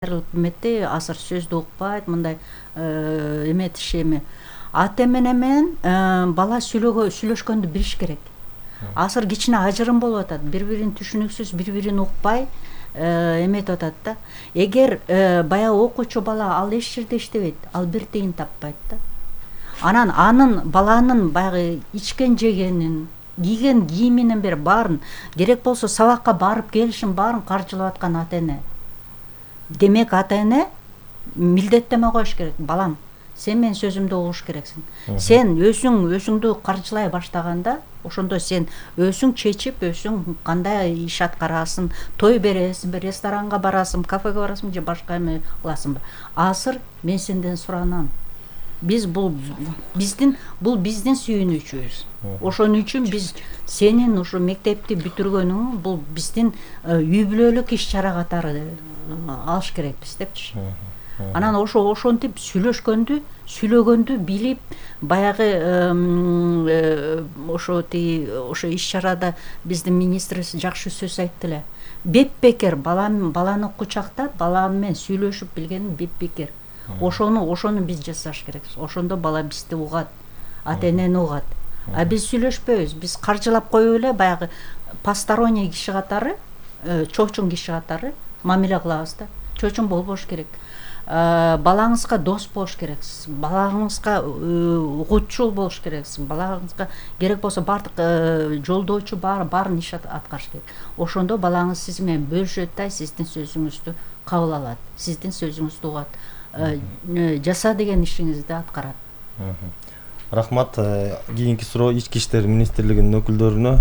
Эметти азыр сөздү укпайт, мындай эметишеми. Ата менен бала сүйлөшкөндү билиш керек. Азыр кичине ажырым болуп атат, бири-бирин түшүнүксүз, бири-бирин укпай эметип атат да. Эгер баягы окуучу бала ал эч жерде иштебейт, ал бир тыйын таппайт да. Анын баланын баягы ичкен жегенин, кийген кийиминен бери баарын, керек болсо сабакка барып келишин баарын каржылап аткан ата-эне. Демек ата-эне милдеттеме коюш керек. Балам, сен менин сөзүмдү угуш керексиң. Сен өзүңдү каржылай баштаганда, ошондо сен өзүң чечип, өзүң кандай иш аткарасың, той бересиңби, ресторанга барасың, кафеге барасың же башка эме кыласыңбы. Азыр мен сенден суранам. Бул биздин сүйүнүчүбүз. Ошон үчүн биз сенин ушу мектепти бүтүргөнүң бул биздин үй бүлөлүк иш-чара катары алыш керекпиз депчи. Анан ошентип сүйлөгөндү билип, баягы ошо иш-чарада биздин министрибиз жакшы сөз айтты эле. Бепбекер баланы кучактап, бала менен сүйлөшүп билгени бепбекер. Ошону биз жасаш керекпиз. Ошондо бала бизди угат, ата-энени угат. А биз сүйлөшпөйбүз. Биз каржылап коюп эле баягы посторонний киши катары, чоочун киши катары мамиле кылабыз да. Чоочун болбош керек. Балаңызга дос болуш керексиз. Балаңызга угутчул болуш керексиз. Балаңызга керек болсо бардык жолдоочу баарын иш аткарыш керек. Ошондо балаңыз сиз менен бөлүшөт да, сиздин сөзүңүздү кабыл алат, сиздин сөзүңүздү угат. Жаса деген ишиңизди аткарат. Рахмат. Кийинки суроо Ички иштер министрлигинин өкүлдөрүнө.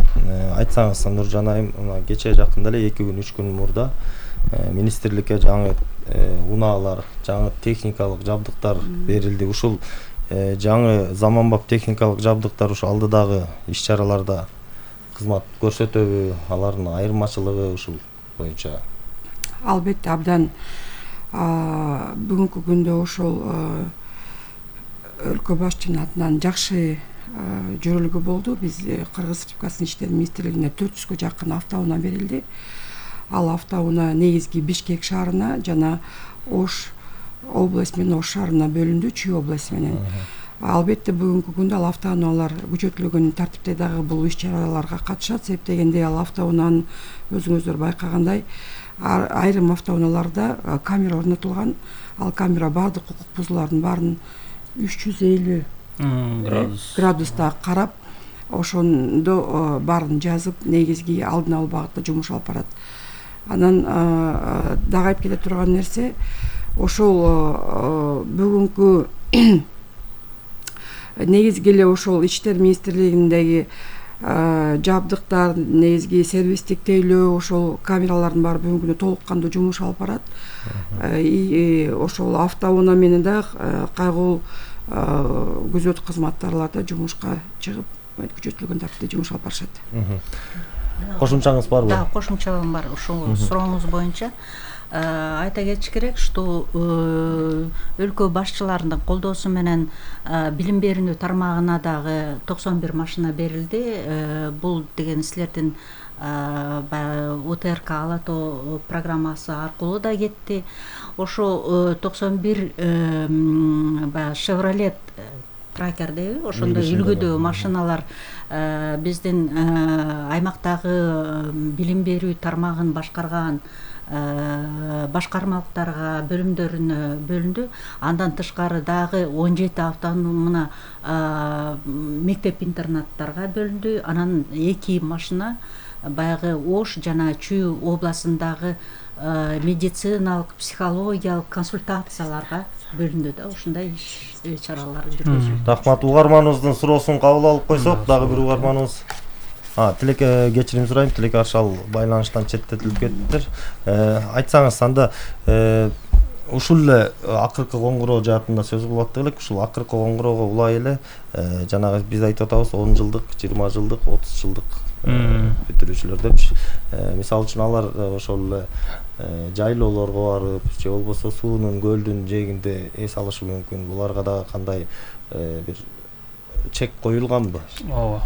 Айтсаңыз, Нуржан айым, кече жакында эле 2 күн 3 күн мурда министрликке жаңы унаалар, жаңы техникалык жабдыктар берилди. Ушул жаңы заманбап техникалык жабдыктар ушу алдыдагы иш-чараларда кызмат көрсөтөбү? Алардын айырмачылыгы ушул боюнча? Албетте, абдан бүгүнкү күндө ошол өлкө башчынын атынан жакшы жөрөлгө болду. Биз Кыргыз Республикасынын иштер министрлигине 400гө жакын автоунаа берилди. Ал автоунаа негизги Бишкек шаарына жана Ош область менен Ош шаарына бөлүндү, Чүй область менен. Албетте бүгүнкү күндө ал автоунаалар күчөтүлгөн тартипте дагы бул иш-чараларга катышат. Себеп дегенде ал автоунаанын өзүңүздөр байкагандай айрым автоунааларда камера орнотулган. Ал камера бардык укук бузуулардын баарын 350 градуста карап, ошондо баарын жазып, негизги алдын алуу багытта жумуш алып барат. Анан дагы айтып кете турган нерсе, ошол бүгүнкү негизги эле ошол иштер министрлигиндеги жабдыктар, негизги сервистик тейлөө, ошол камералардын баары бүгүнкү күндө толук кандуу жумуш алып барат. Ошол автоунаа менен да кайгылуу күзөт кызматтарлар да жумушка чыгып, күчөтүлгөн тартипте жумуш алып барышат. Кошумчаңыз барбы? Да, кошумчам бар. Ушул сурооңуз боюнча айта кетиш керек, что өлкө башчыларынын колдоосу менен билим берүү тармагына дагы 91 машина берилди. Бул деген силердин УТРК Ала тоо программасы аркылуу да кетти. Ошо 91 баягы Chevrolet Tracker дейби, ошондой үлгүдө машиналар биздин аймактагы билим берүү тармагын башкарган башкармалыктарга, бөлүмдөрүнө бөлүндү. Андан тышкары дагы 17 автоунаа мектеп-интернаттарга бөлүндү. Анан 2 машина баягы Ош жана Чүй областындагы медициналык, психологиялык консультацияларга бөлүндү да. Ушундай иш-чаралар жүргүзүлдү. Рахмат. Угарманыбыздын суроосун кабыл алып койсок, дагы бир угарманыбыз. Тилеке кечирим сурайм, Тилеке Аршал байланыштан четтетилип кеттиптир. Айтсаңыз, анда ушул эле акыркы коңгуроо жаатында сөз кылып аттык элек. Ушул акыркы коңгуроого улай эле жанагы биз айтып атабыз 10 жылдык, 20 жылдык, 30 жылдык бүтүрүүчүлөр депчи. Мисалы үчүн алар ошол эле жайлоолорго барып, же болбосо суунун, көлдүн жээгинде эс алышы мүмкүн. Буларга да кандай бир чек коюлганбы? Ооба.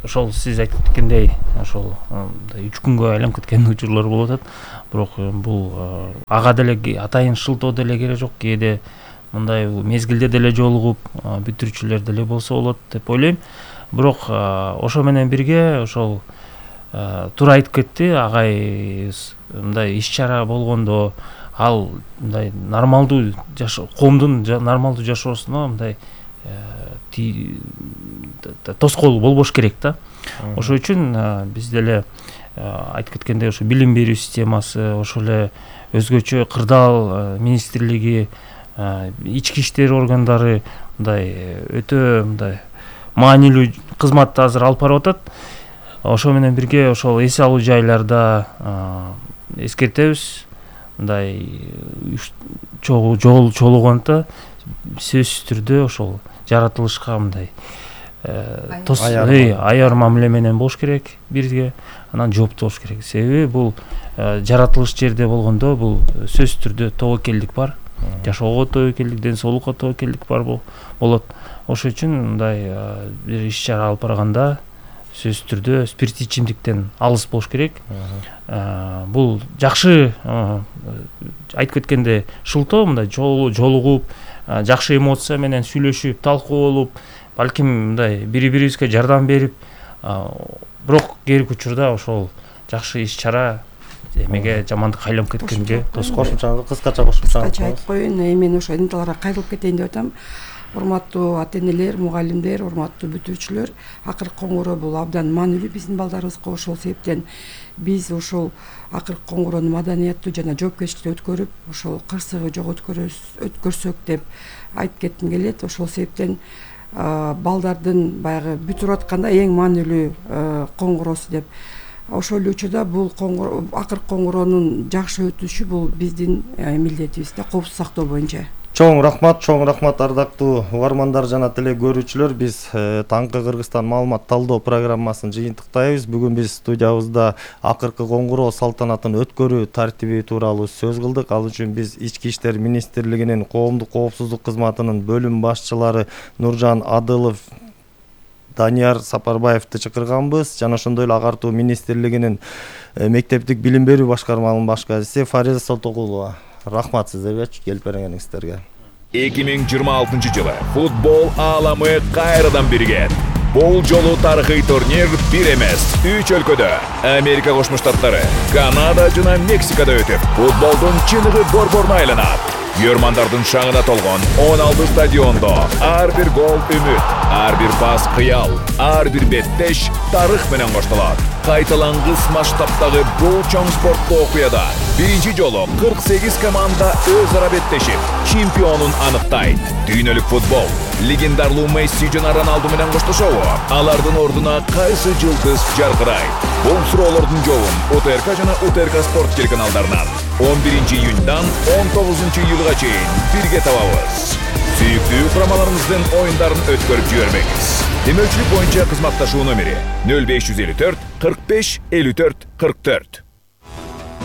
ошол сиз айтып кеткендей ошол 3 күнгө айланып кеткен учурлар болуп атат. Бирок бул ага деле атайын шылтоо деле керек жок. Кээде мындай мезгилде деле жолугуп бүтүрүүчүлөр деле болсо болот деп ойлойм. Бирок ошо менен бирге ошол туура айтып кетти агай, мындай иш-чара болгондо ал мындай нормалдуу коомдун нормалдуу жашоосуна мындай тоскоол болбош керек да. Ошол үчүн биз деле айтып кеткендей ошо билим берүү системасы, ошол эле өзгөчө кырдаал министрлиги, ички иштер органдары мындай өтө мындай маанилүү кызматты азыр алып барып атат. Ошо менен бирге ошол эс алуу жайларда эскертебиз, мындай чогулганда сөзсүз түрдө ошол жаратылышка мындай аяр мамиле менен болуш керек бирге, анан жооптуу болуш керек. Себеби бул жаратылыш жерде болгондо бул сөзсүз түрдө тобокелдик бар, жашоого тобокелдик, ден соолукка тобокелдик бар болот. Ошол үчүн мындай бир иш-чара алып барганда сөзсүз түрдө спирттүү ичимдиктен алыс болуш керек. Бул жакшы айтып кеткенде шылтоо, мындай жолугуп, жакшы эмоция менен сүйлөшүп, талкуулуп, балким мындай бири-бирибизге жардам берип, бирок керик учурда ошол жакшы иш-чара эмеге жамандык айланып кеткенге кошумча кыскача айтып коеюн. Мен ошо энелерге кайрылып кетейин деп атам. Урматтуу ата-энелер, мугалимдер, урматтуу бүтүрүүчүлөр, акыркы коңгуроо бул абдан маанилүү биздин балдарыбызга. Ошол себептен биз ошол акыркы коңгуроону маданияттуу жана жоопкерчиликтүү өткөрүп, ошол кырсыгы жок өткөрсөк деп айтып кетким келет. Ошол себептен балдардын баягы бүтүрүп атканда эң маанилүү коңгуроосу деп. Ошол эле учурда бул акыркы коңгуроонун жакшы өтүшү бул биздин милдетибиз да, коопсуздук сактоо боюнча. Чоң рахмат ардактуу угармандар жана теле көрүүчүлөр. Биз таңкы Кыргызстан маалымат талдоо программасын жыйынтыктайбыз. Бүгүн биз студиябызда акыркы коңгуроо салтанатын өткөрүү тартиби тууралуу сөз кылдык. Ал үчүн биз Ички иштер министрлигинин коомдук коопсуздук кызматынын бөлүм башчылары Нуржан Адылов, Данияр Сапарбаевди чакырганбыз. Жана ошондой эле агартуу министрлигинин мектептик билим берүү башкармалыгынын башкарчысы Фариза Солтокулова. Рахмат сиздерге келип бергениңиздерге. 2026 жылы футбол ааламы кайрадан биригет. Бул жолу тарыхый турнир бир эмес, 3 өлкөдө Америка Кошмо Штаттары, Канада жана Мексикада өтүп, футболдун чыныгы борборуна айланат. Көрмандардын шаңына толгон 16 стадиондо ар бир гол үмүт, ар бир пас кыял, ар бир беттеш тарых менен коштолот. Кайталангыс масштабтагы бул чоң спорттуу окуяда биринчи жолу 48 команда өз ара беттешип, чемпионун аныктайт. Дүйнөлүк футбол легендарлуу Месси жана Роналду менен коштошобу? Алардын ордуна кайсы жылдыз жаркырайт? Бул суроолордун жообун УТРК жана УТРК спорт телеканалдарынан 11 июньдан 19 июлга чейин бирге табабыз. Сүйүктүү курамаларыңыздын оюндарын өткөрүп жибербеңиз. Демөүчүлүк боюнча кызматташуу номери 0554 45 54 44.